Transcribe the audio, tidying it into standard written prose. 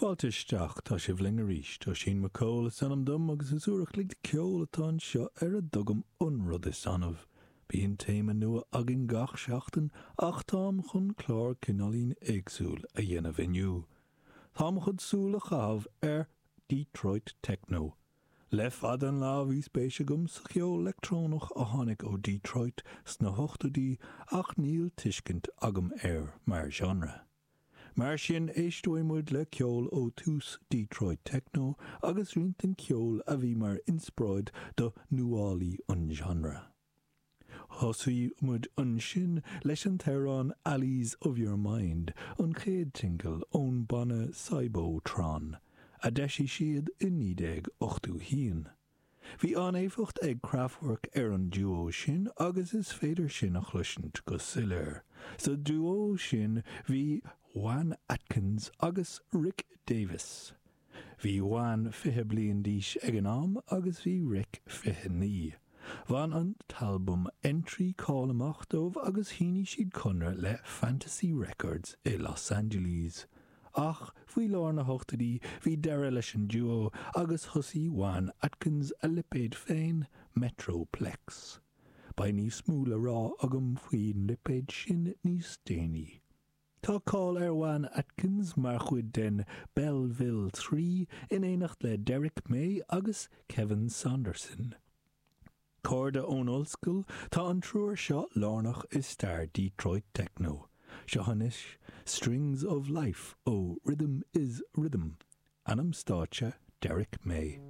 Fáilte isteach, tá sibh linn arís. Oisín McCall is ainm dom agus is uair a chloig de ceol atá anseo ar a dtugaim an rud is annamh. Bíonn téama nua againn gach seachtain ach táim chun clár cineáilín éagsúil a dhéanamh inniu. Táim chun súil a chaitheamh ar Detroit Techno. Le fada an lá bhí spéis agam sa cheol leictreonach a tháinig ó Detroit sna hochtóidí ach níl tuiscint agam air mar genre. Mar sin, éisteoidh muid le ceol ó tús Detroit Techno agus roinnt den cheol a bhí mar inspioráid do nuálaí an genre. Thosaigh muid ansin leis an t-amhrán Alleys of Your Mind, an chéad tsingil ón banna Cybotron, a d'eisigh siad i 1981. Bhí an-éifeacht ag Kraftwerk ar an duo sin agus is féidir sin a chloisint go soiléir. Sa duo sin bhí Juan Atkins agus Rick Davies. Bhí Juan 20 bliain d'aois ag an am agus bhí Rick 29. Bhain an t-albam Entry cáil amach dóibh agus shínigh siad conradh le Fantasy Records i Los Angeles. Ach faoi lár na hochtóidí bhí deireadh leis an duo agus thosaigh Juan Atkins a lipéad féin, Metroplex. Beidh níos mó le rá agam faoin lipéad sin níos déanaí. Tá cáil ar Juan Atkins mar chuid den Belleville 3 in éineacht le Derrick May agus Kevin Saunderson. Cairde ón ollscoil, tá an triúr seo lárnach i stair Detroit Techno. Seo anois Strings of Life ó Rhythm is Rhythm, ainm stáitse Derrick May.